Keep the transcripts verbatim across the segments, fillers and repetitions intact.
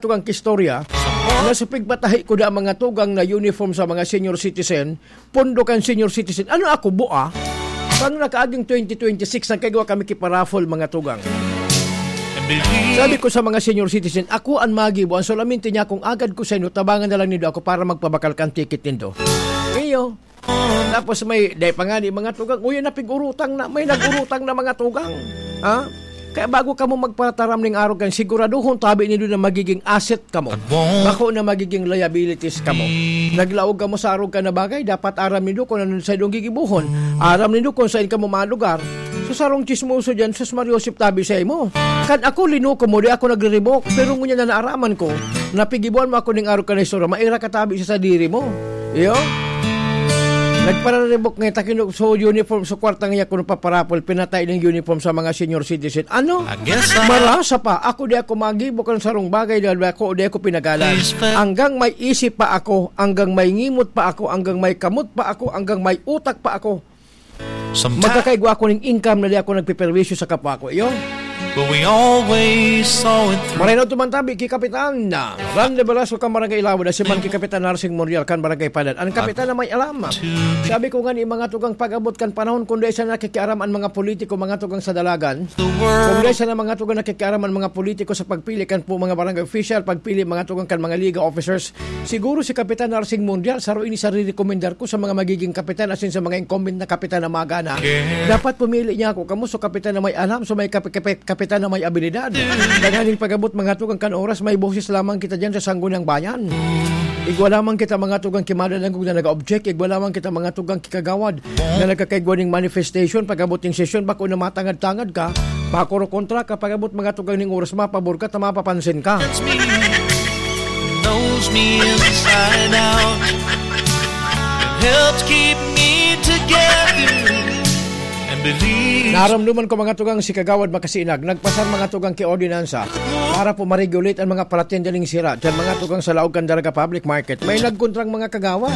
tugang ki istorya, na sa pigpatahi ko na mga tugang na uniform sa mga senior citizen, pondo kan senior citizen. Ano ako, bua? Pang nakaaging twenty twenty-six, nagkaigwa kami ki paraffle, mga tugang. Sabi ko sa mga senior citizen, "Ako an magibo, an solamente niya kung agad ko sa inyo, tabangan na lang nindo ako para magpabakal kan ticket nindo." Iyo. Tapos may, dai pa nga ni mga tugang, uy, napig-urutang na, may nag-urutang na mga tugang. Ha? Kaya bago kamo magpataram ning arog kan, siguraduhon tabi nindo na magiging asset kamo. Bako na magiging liabilities kamo. Naglaog kamo sa arog kan na bagay, dapat aram nindo kung ano sa idong gigibuhon. Aram nindo kung saan kamo malugar. So, sarong chismoso dyan, sus, Mario Joseph, tabi sa imo. Kan ako, linuko mo, di ako nagre-revoke. Pero ngunyan na naaraman ko, napigibuan mo ako ning arog kan na istorya, maira ka tabi sa sadiri mo. Iyo? Nagpara-revoke nga takin so uniform, so kwarta nga kuno paparapol, pinatay ning uniform sa mga senior citizen. Ano? I guess, ah, Marasa pa. Ako di ako magibo kan sarong bagay dahil ako di ako pinagalan. Please, fa- Hanggang may isip pa ako, hanggang may ngimot pa ako, hanggang may kamot pa ako, hanggang may utak pa ako. Sometimes Magkakaigwa ako ning income na di ako nagpeperwisyo sa kapwa ko. Iyo? But we always saw it through. Maray na tumantabi ki Kapitan Ran de Velasco kan Barangay Ilawod, si man ki Kapitan Narsing Morial kan Barangay Padan. Ang kapitan na may alam. Sabi ko nga ni mga tugang pag-abot kan panahon, kung dai sana nakikiaram ang mga politiko, mga tugang sa dalagan, kung dai sana mga tugang nakikiaram ang mga politiko sa pagpili kan po mga barangay official, pagpili mga tugang kan mga liga officers, siguro si Kapitan Narsing Mundial, saro ini sa rirekomendar ko sa mga magiging kapitan, asin sa mga incumbent na kapitan na magana. Dapat pumili niya ako. Kamo so kapitan na may alam, so may kapi-, kapi-, kapitan na may abilidad. Tanganing pag-abot mga tugang kan oras, may boses lamang kita dyan sa Sangguniang Bayan. Igwa lamang kita mga tugang ki madadangog na nag-object, igwa lamang kita mga tugang ki kagawad na nagkakaigwa ning manifestation, pag-abot ning sesyon, bako na matangad-tangad ka, pakuro kontra ka, pag-abot mga tugang ning oras, mapabor ka, ta mapapansin ka. Knows me inside out. Helps keep me together and believe. Naramdaman ko mga tugang si Kagawad Makasinag, nagpasar mga tugang ki ordinansa para po ma-regulate ang mga palatyan dyan sira. Diyan mga tugang sa laog kan Daraga Public Market, may nagkontrang mga kagawad.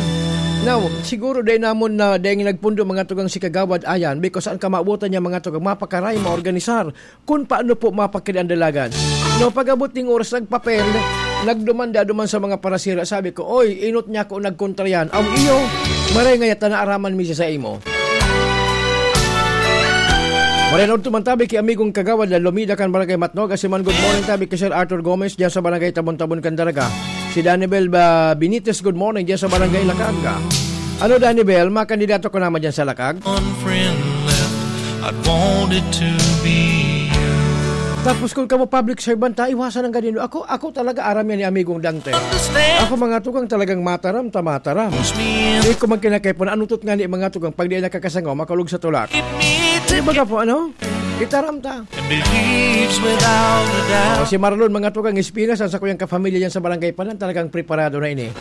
Now, siguro dahil namon na dahil nagpundo mga tugang si Kagawad Ayan, because ang kamabutan niya mga tugang mapakaray, maorganisar, kun paano po mapakiri ang dalagan. No, pag-abot ning oras, nagpapel, nagdumanda-duman sa mga parasira. Sabi ko, "Oy, inot niya ako nagkontra yan." Aw, iyo, maray nga yata naaraman mi siya sa imo. Maray na tumantabi ki amigong kagawad na Lumida kan Barangay Matnog. Asiman, good morning, tabi ki Sir Arthur Gomez, diyan sa Barangay Tabon-Tabon kan Daraga. Si Danibel ba Benitez, good morning, diyan sa Barangay Lacag. Ano, Danibel, makandidato ka naman diyan sa Lacag? One friend left, I'd wanted to be you. Tapos kung kamo public servant, ta, iwasan ang ganyan. Ako, ako talaga aram yan ni Amigong Dante. Understand. Ako mga tugang talagang mataram, ta mataram. Push me in. Di ko magkinakay po na anutot nga ni mga tugang pag di nakakasangaw, makulog sa tulak. Keep me Di ba together. Ka po, ano? Itaram ta. And believes without a doubt. Oh, si Marlon, mga tugang Espinas, ang sakuyang kapamilya yan sa Barangay Padan, talagang preparado na ini.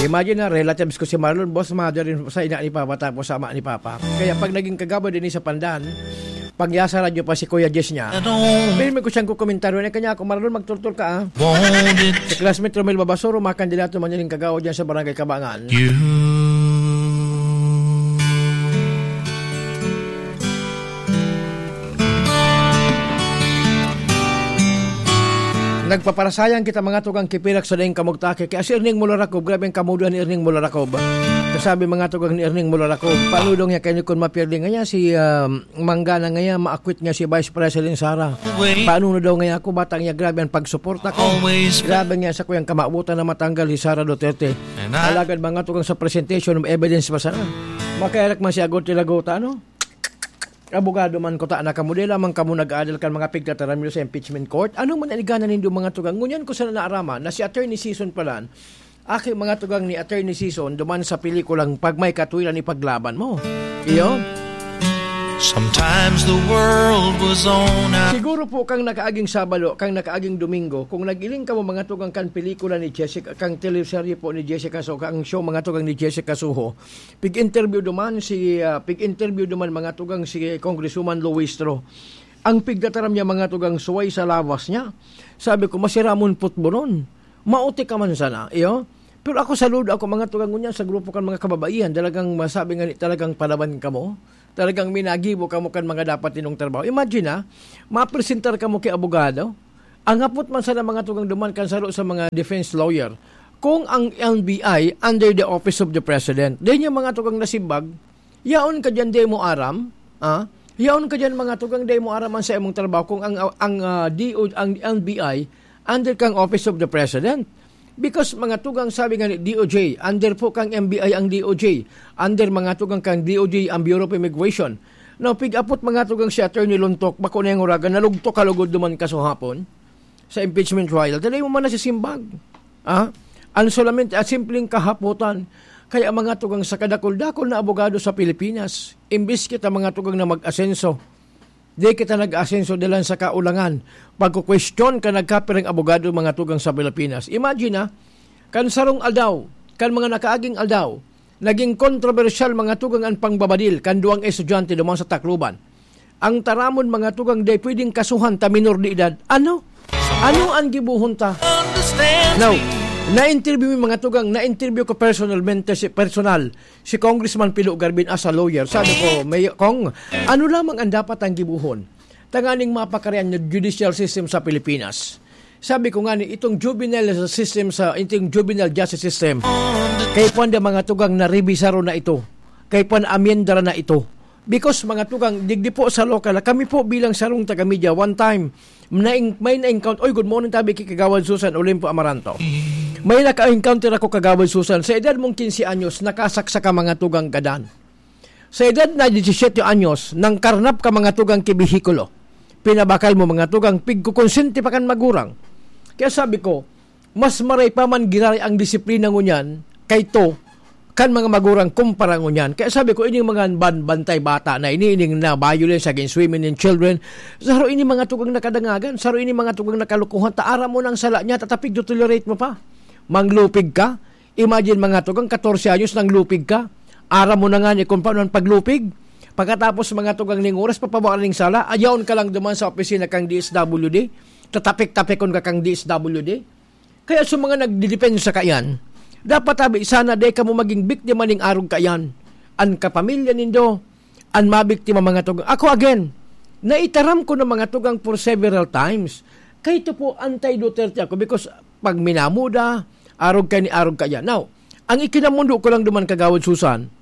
Imagine na, relatives ko si Marlon, boss, mother rin sa ina ni Papa, tapos sa ama ni Papa. Kaya pag naging kagawad din sa Pandan, pag yasa radyo pa si Kuya Jess niya, I don't pero may ko siyang kukomentaryo na kanya ako, "Marlon, magturtur ka, ah." Want it. Si classmate Romel Babasoro, makandidato man yung kagawad dyan sa Barangay Kabangan. You. Nagpaparasayang kita, mga tugang, kipirak sa daing kamugtaki. Kaya si Erning Mularakob, grabe ang kamuduan ni Erning Mularakob. Kasabi, mga tugang, ni Erning Mularakob, paano daw niya kayo kun mapirdi nga niya si, um, Manggana nga niya, maakwit nga si Vice President Sara? Paano na daw nga ako, bata niya, grabe ang pagsuporta ko. Grabe nga sa kuyang kamabutan na matanggal si Sara Duterte. Alagad, mga tugang, sa presentation of evidence pa sana. Makayarak man si Agot Tilaguta, ano? Abogado man ko ta na kamo, di lamang kamo nag-aadal kan mga pigtataram niyo sa impeachment court. Ano man ang igana nindo mga tugang? Ngunyan ko sana naaraman na si Attorney Sison palan, aki mga tugang ni Attorney Sison, duman sa pelikulang Pag May Katuwiran Ipaglaban Mo. Iyo? Sometimes the world was on a Siguro po kang nakaaging Sabado, kang nakaaging Domingo, kung nagiling kamo mga tugang kan pelikula ni Jessica, kang teleserye po ni Jessica Soho, ang show mga tugang ni Jessica Soho, pig-interview duman si, ah, pig-interview duman mga tugang si Congresswoman Luistro. Ang pigtataram niya mga tugang suway sa lawas niya. Sabi ko, "Masiramon putbonon. Maoti ka man sana, iyo?" Pero ako saludo ako mga tugang ngunyan sa grupo kan mga kababaihan. Talagang masabi nga ni, talagang palaban kamo. Talagang minagibo kamo kan mga dapat ninyong trabaho. Imagine, ah, mapresentar kamo ki abogado. Ang hapot man sana, mga tugang, duman kan saro sa mga defense lawyer, kung ang N B I under the office of the president, dai niya, mga tugang, nasimbag, yaon ka diyan, dai mo aram, ah? Yaon ka diyan, mga tugang, dai mo aram ang sa imong trabaho kung ang, ang, ah, D O, ang N B I under kang office of the president. Because, mga tugang, sabi nga ni D O J, under po kang M B I ang D O J, under, mga tugang, kang D O J ang Bureau of Immigration. Now, pig-apot, mga tugang, si Attorney Lontok, bako na yung uragan, nalugtok ka lugod duman kasuhapon sa impeachment trial. Dai mo man nasisimbag. Ah? Ang solamente, ah, simpleng kahapotan. Kaya, mga tugang, sa kadakul-dakul na abogado sa Pilipinas, imbis kita, mga tugang, na mag-asenso, di kita nag-asenso dalan sa kaulangan. Pagkukwestiyon ka nagkapirang abogado, mga tugang, sa Pilipinas. Imagine, ah, kan sarong aldaw, kan mga nakaaging aldaw, naging kontrobersyal, mga tugang, ang pangbabadil kan duwang estudyante duman sa Tacloban. Ang taramon, mga tugang, dai pwedeng kasuhan ta minor de edad. Ano? Ano ang gibohon ta? Now, na-interview mi, mga tugang, na-interview ko personalmente, si, personal, si Congressman Pilo Garbin as a lawyer. Sabi ko, "May, Kong, ano lamang ang dapat ang gibohon tanganing mapakarian yung judicial system sa Pilipinas?" Sabi ko nga ni, itong juvenile system sa, itong juvenile justice system, kay pwede, mga tugang, na revisaro na ito. Kay pwede amyendara na ito. Because, mga tugang, digdi po sa local, kami po bilang sarong taga-media, one time, naing-, may na-encounter, oy, good morning, tabi ki Kagawad Susan Olimpo Amaranto. May naka-encounter ako, Kagawad Susan, sa edad mong quince anyos, nakasaksak ka, mga tugang, gadan. Sa edad na disisyete anyos, nangkarnap ka, mga tugang, ki behikulo. Pinabakal mo, mga tugang, pigkukonsente pa kan magurang. Kaya sabi ko, mas maray pa man giraray ang disiplina ngunyan kayto kan mga magurang kumpara ngunyan. Kaya sabi ko, ining mga ban-, bantay bata na ini, ining na violence against women and children, saro ini, mga tugang, nakadangagan, saro ini, mga tugang, nakalukuhan, ta aram mo nang sala niya, tatapig, tolerate mo pa. Manglupig ka, imagine, mga tugang, katorse anyos, nanglupig ka. Aram mo na nga ni kung paano ang paglupig. Pagkatapos, mga tugang, ning oras, papabaan ning sala, ayaon ka lang duman sa opisina kang D S W D. Tatapik-tapikon ka kang D S W D. Kaya sa mga nagdidepensa kaiyan, dapat tabi sana dai kamo maging biktima ning arog kaiyan. An kapamilya nindo, an mabiktima, mga tugang. Ako again, naitaram ko na, mga tugang, for several times. Kaya ito po, anti-Duterte ako because pag minamuda, arog ka ni arog kaiyan. Now, ang ikinamundo ko lang duman, Kagawad Susan,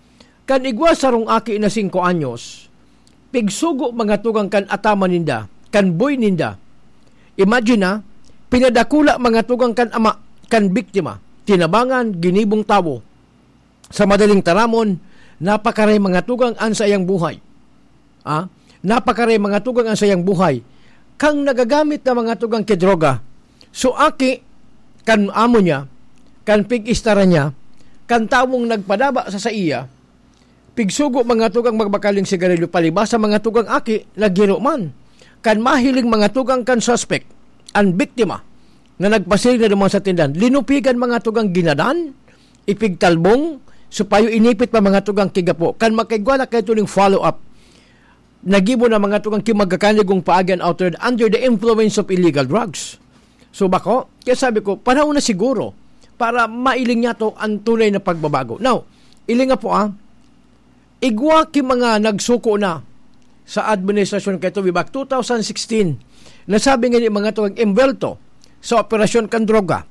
kan igwa sarong aki na singko anyos, pigsugo, mga tugang, kan ataman ninda, kan boy ninda. Imagine na, pinadakula, mga tugang, kan ama, kan biktima, tinabangan, ginibong tawo. Sa madaling taramon, napakaray, mga tugang, an saiyang buhay. Ah, napakaray, mga tugang, an saiyang buhay. Kang nagagamit na, mga tugang, ki droga. So, aki, kan amo niya, kan pig-istara niya, kan tawong nagpadaba sa saiya, pigsugo, mga tugang, magbakal ning sigarilyo, palibasa, mga tugang, aki, naghiro man. Kan mahiling, mga tugang, kan suspect, an biktima, na nagpasiring na duman sa tindahan, linupigan, mga tugang, ginadan, ipigtalbong, supayo inipit pa, mga tugang, ki gapo. Kan makaigwa na kaito ning follow-up, nagibo na, mga tugang, ki magkakanigong paagi an outer under the influence of illegal drugs. So, bako, kaya sabi ko, panahon na siguro para mailing niya to ang tunay na pagbabago. Now, ilinga po, ah, igwa ki mga nagsuko na sa administrasyon kaito, way back two thousand sixteen, nasabi nga ni mga tugang, embwelto sa operasyon kan droga.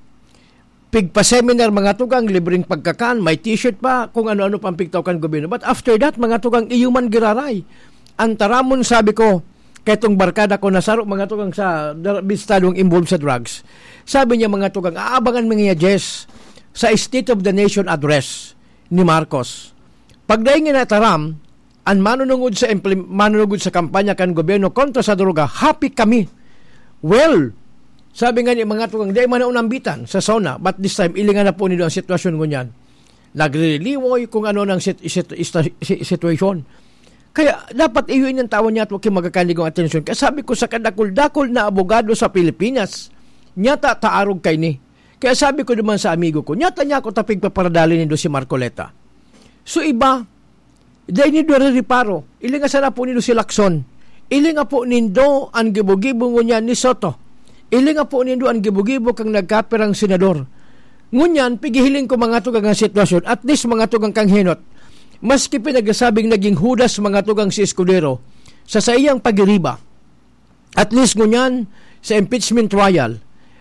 Pigpa-seminar, mga tugang, libreng pagkakan, may t-shirt pa, kung ano-ano pang pigtaw kan gobyerno. But after that, mga tugang, iyo man giraray. Ang taramon, sabi ko, kaitong barkada ko na saro, mga tugang, sa dar-, bistadong involved sa drugs. Sabi niya, mga tugang, aabangan mi ngaya, Jess, sa State of the Nation Address ni Marcos. Pagdaing nga nataram, an manunungod sa implim-, manunungod sa kampanya kan gobyerno kontra sa droga, happy kami. Well, sabi nga ni mga tugang, di man na unambitan sa SONA, but this time, ilingan na po nindo ang sitwasyon ngunyan. Nagririliwoy kung ano nang sit-, sit-, ista-, si-, sitwasyon. Kaya dapat iyo inyang tawan niya at huwag kayong magkakanigong atensyon. Kaya sabi ko sa kadakul-dakul na abogado sa Pilipinas, nyata taarog kay ni. Kaya sabi ko naman sa amigo ko, nyata niya ako tapig paparadali nindo si Marcoleta. So iba, dai nindo rereparo. Ilinga sana po nindo si Lacson. Ilinga po nindo ang gibo-gibo ngunyan ni Soto. Ilinga po nindo ang gibo-gibo kang nagkapirang senador. Ngunyan, pigihiling ko mga tugang ang sitwasyon, at least mga tugang kang henot. Maski pinagsasabing naging Judas mga tugang si Escudero, sa saiyang pagiriba, at least ngunyan, sa impeachment trial,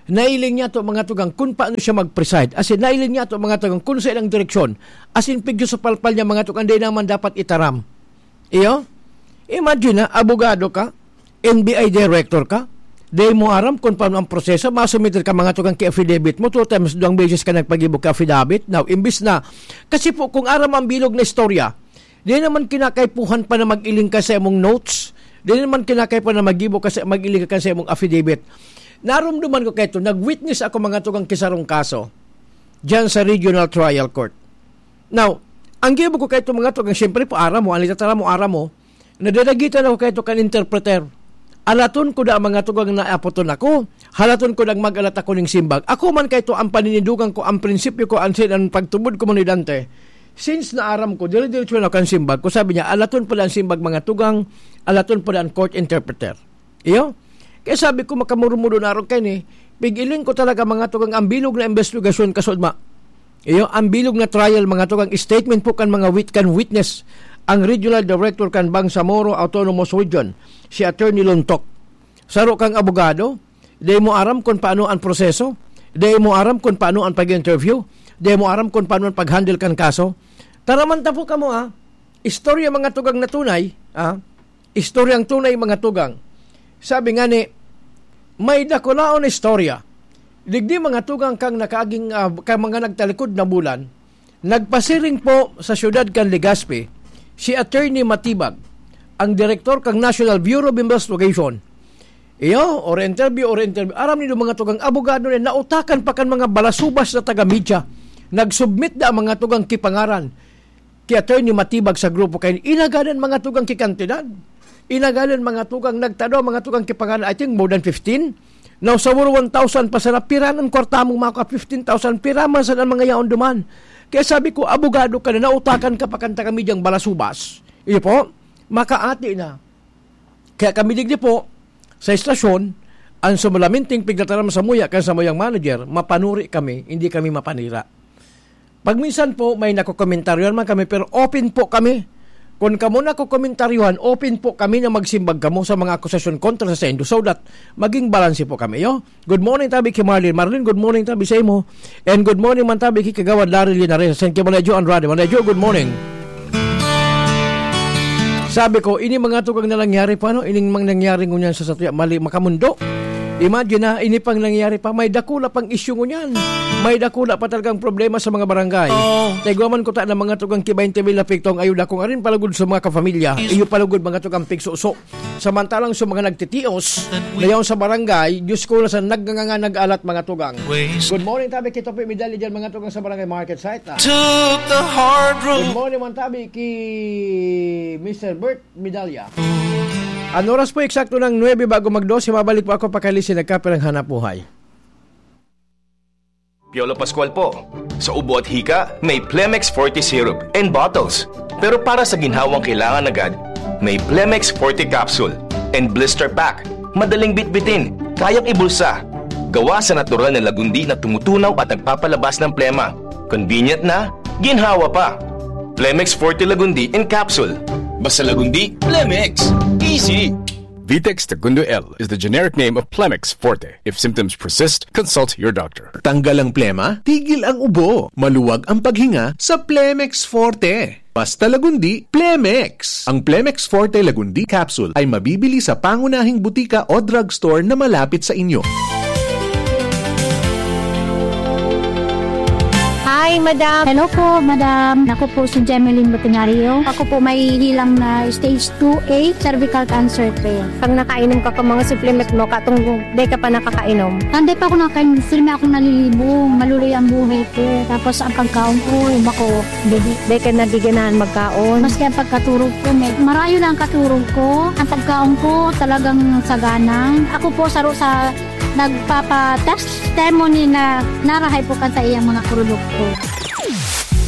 nailing niya to, mga tugang, kung paano siya mag-preside. As in, nailing niya to, mga tugang, kung sa ilang direksyon. As in, pigyo sa palpal niya, mga tugang, di naman dapat itaram. Iyo? Imagine na, abogado ka, N B I director ka, di mo aram kung paano ang proseso, masumiter ka, mga tugang, ki affidavit mo, two times, duwang beses ka nagpagibo ki affidavit. Now, imbis na, kasi po, kung aram ang bilog na istorya, di naman kinakaipuhan pa na mag-iling ka sa imong notes, di naman kinakaipuhan na magibo ka sa, mag-iling ka sa imong affidavit. Narumduman ko kaito, nag-witness ako, mga tugang, ki sarong kaso, diyan sa Regional Trial Court. Now, ang gibo ko kaito, mga tugang, siyempre po, aram mo, ang litataram mo, aram mo, nadadagitan ako kaito kan interpreter. Alaton ko da, mga tugang, na apoton ako, halaton ko nang mag-alat ako ning simbag. Ako man kaito ang paninindugan ko, ang prinsipyo ko, ang sin-, ang pagtubod ko man ni Dante. Since naaram ko, dire-diretso na kan simbag ko. Sabi niya, alaton pala ang simbag, mga tugang, alaton pala ang court interpreter. Iyo? Kaya sabi ko, makamurumudo na aron kaini, pig-iling ko talaga, mga tugang, ang bilog na investigasyon, kasudma. Iyo, ang bilog na trial, mga tugang, statement po kan mga wit-, kan witness, ang regional director kan Bangsamoro Autonomous Region, si Attorney Lontok. Saro kang abogado, di mo aram kung paano ang proseso, di mo aram kung paano ang pag-interview, di mo aram kung paano ang pag-handle kan kaso. Taraman ta po kamo, ah. Istorya, mga tugang, na tunay, ah. Istoryang tunay, mga tugang. Sabi nga ni, may dakulaon na istorya. Digdi, mga tugang, kang nakaaging, ah, kang mga nagtalikod na bulan, nagpasiring po sa siyudad kan Legazpi si Attorney Matibag, ang direktor kan National Bureau of Investigation. Iyo, or interview, or interview. Aram nindo, mga tugang, abogado na nautakan pa kan mga balasubas na taga-media. Nag-submit na ang mga tugang ki pangaran ki Attorney Matibag sa grupo kaini. Inagadan, mga tugang, ki kantidad. Inagadan, mga tugang, nagtado, mga tugang, ki pangaran, I think, more than fifteen. Now, sa one thousand pa sana, pira an kwarta mong maka fifteen thousand, pira man sana ang mga yaon duman. Kaya sabi ko, abogado ka na, nautakan ka pa kan taga-media balasubas. Iyo po, makaati na. Kaya kami digdi po, sa estasyon, ang sumalaminting pigtataram samuya kan samuyang manager, mapanuri kami, hindi kami mapanira. Pag minsan po, may nakokomentaryohan man kami, pero open po kami. Kung kamo nakokomentaryohan, open po kami na magsimbag kamo sa mga akusasyon kontra sa saindo, so that maging balanse po kami, yo. Good morning, tabi ki Marlene. Marlene, good morning, tabi sa imo. And good morning man, tabi ki Kagawad Larry Linares. Thank you, Manay Jo Andrade. Manay Jo, good morning. Sabi ko, ini mga tugang na nangyari pa, no? Ining mga nangyari ngunyan sa satya, mali, makamundo. Imagine na, ini pang nangyari pa, may dakula pang issue ngunyan. May dakula pa talagang problema sa mga barangay. Taigwaman ko ta na mga tugang ki baynte mil na piktong ayuda kong arin palugod sa mga kapamilya. Iyo palugod mga tugang pigsuso. Samantalang sa mga nagtitios, na yaon sa barangay, Diyos ko, na sa nagnganga nag-alat mga tugang. Good morning, tabi ki Topi Medalya dyan, mga tugang sa barangay market site, ah. Took the hard road. Good morning, man, tabi ki Mister Bert Medalya. Ang oras po eksakto ng nuebe bago mag-dose, mabalik po ako pakali si nagkapirang hanap buhay. Piolo Pascual po. Sa ubo at hika, may Plemex Forte Syrup and bottles. Pero para sa ginhawang kailangan agad, may Plemex Forte Capsule and Blister Pack. Madaling bitbitin, kayang ibulsa. Gawa sa natural na lagundi na tumutunaw at nagpapalabas ng plema. Convenient na, ginhawa pa. Plemex Forte Lagundi in Capsule. Basta Lagundi, Plemex. Easy! Vitex Tagundo L is the generic name of Plemex Forte. If symptoms persist, consult your doctor. Tanggal ang plema, tigil ang ubo, maluwag ang paghinga sa Plemex Forte. Basta Lagundi, Plemex! Ang Plemex Forte Lagundi Capsule ay mabibili sa pangunahing butika o drugstore na malapit sa inyo. Hi, madam. Hello po, madam. Ako po si Jemeline Botenario. Ako po may hilang na stage two A cervical cancer po. Pag nakainom ka ka mga supplement mo, katong di ka pa nakakainom. Hindi pa ako nakainom, firme akong nalilibo. Maluloy ang buhay ko. Tapos ang pagkaon ko, bako, hindi. Di ka nabiganahan magkaon. Maski ang pagkaturog ko, may, marayo na ang katurog ko. Ang pagkaon ko, talagang sagana. Ako po, saro sa nagpapa-testimony na narahay po kan sa iyang mga produkto.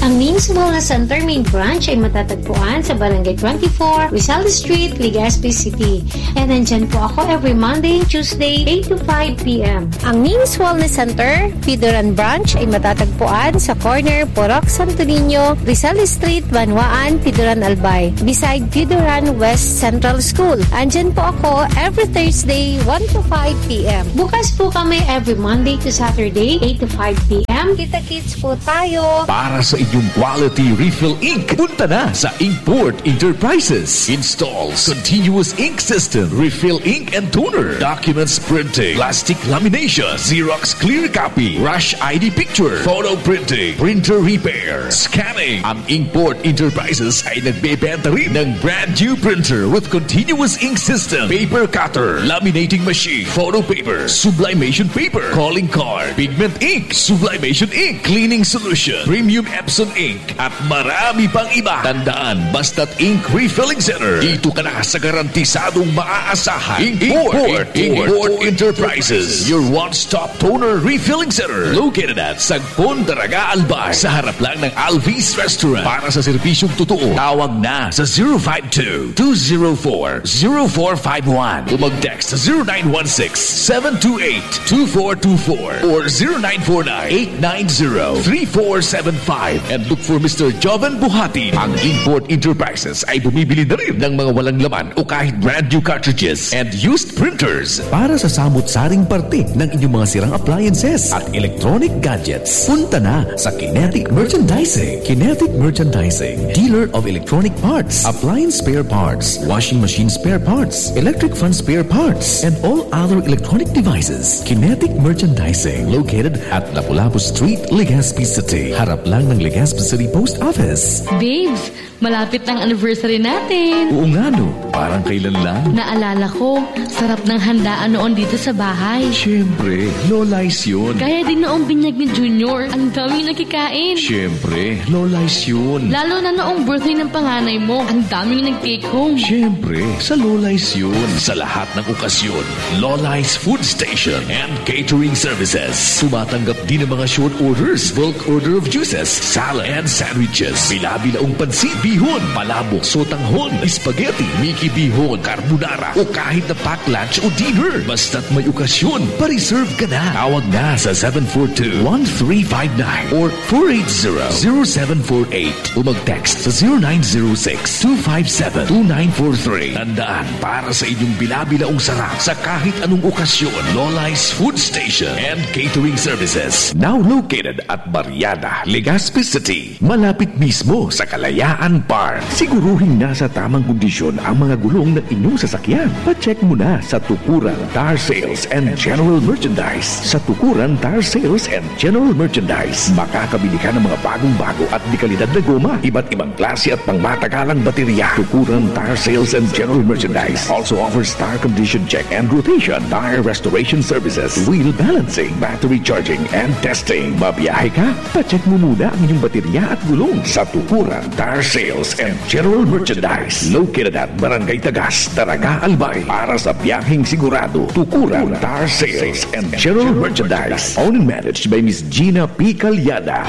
Ang Ming's Wellness Center main branch ay matatagpuan sa Barangay twenty-four, Rizal Street, Legazpi City. And nandyan po ako every Monday and Tuesday, eight to five p.m. Ang Ming's Wellness Center, Pidoran Branch, ay matatagpuan sa corner Purok Santo Niño, Rizal Street, Banwaan, Pidoran, Albay, beside Pidoran West Central School. Andyan po ako every Thursday, one to five p.m. Bukas po kami every Monday to Saturday, eight to five p.m. Kita-kits po tayo. Para sa inyong quality refill ink, punta na sa Inkport Enterprises. Installs continuous ink system, refill ink and toner, documents printing, plastic lamination, Xerox clear copy, rush I D picture, photo printing, printer repair, scanning. Ang Inkport Enterprises ay nagbebenta rin ng brand new printer with continuous ink system, paper cutter, laminating machine, photo paper, sublimation paper, calling card, pigment ink, sublimation ink, cleaning solution, premium Epson ink, at marami pang iba. Tandaan, basta't ink refilling center, dito ka na sa garantisadong maaasahan. Import, Import, Import Enterprises, your one-stop toner refilling center. Located at Sagpon, Daraga, Albay, sa harap lang ng Alvis Restaurant. Para sa serbisyong totoo, tawag na sa zero five two, two zero four, zero four five one o mag-text sa zero nine one six, seven two eight, two four two four or zero nine four nine, eight nine zero, three four seven five and look for Mister Joven Buhati. Ang Import Enterprises ay bumibili na rin ng mga walang laman o kahit brand new cartridges and used printers. Para sa samot-saring parte ng inyong mga sirang appliances at electronic gadgets, punta na sa Kinetic Merchandising. Kinetic Merchandising, dealer of electronic parts, appliance spare parts, washing machine spare parts, electric fan spare parts, and all other electronic devices. Kinetic Merchandising, located at Lapu-Lapu Street, Legazpi City. Harap lang ng Legazpi City Post Office. Babes, malapit na ang anniversary natin. Oo nga no, parang kailan lang. Naalala ko, sarap ng handaan noon dito sa bahay. Siyempre, Lola's yun. Kaya din noong binyag ni Junior, ang daming nakikain. Siyempre, Lola's yun. Lalo na noong birthday ng panganay mo, ang daming nag-take home. Siyempre, sa Lola's yun. Sa lahat ng okasyon, Lola's Food Station and Catering Services. Tumatanggap din ng mga short orders, bulk order of juices, salad, and sandwiches. Bila-bilaong pansit, bihon, palabok, sotanghon, spaghetti, Mickey bihon, carbonara, o kahit na pack lunch o dinner. Basta't may okasyon, pa-reserve ka na. Tawag na sa seven four two, one three five nine or four eight zero, zero seven four eight o mag-text sa zero nine zero six, two five seven, two nine four three. Tandaan, para sa inyong bila-bilaong sarap sa kahit anong okasyon, Lola's Food Station and Catering Services. Now located at Barriada, Legazpi City, malapit mismo sa Kalayaan Park. Siguruhing nasa tamang kondisyon ang mga gulong ng inyong sasakyan. Pa-check mo na sa Tukuran Tire Sales and General Merchandise. Sa Tukuran Tire Sales and General Merchandise, makakabili ka ng mga bagong-bago at dekalidad na goma, iba't ibang klase at pangmatagalang baterya. Tukuran Tire Sales and General Merchandise also offers tire condition check and rotation, tire restoration services, wheel balancing, battery charging, and testing. Babiyahe ka? Pa-check mo muna ang inyong baterya at gulong sa Tukuran Tire Sales and General Merchandise. Located at Barangay Tagas, Daraga, Albay. Para sa biyaheng sigurado, Tukuran Tire Sales and General Merchandise. Owned and managed by Miss Gina P. Calyada.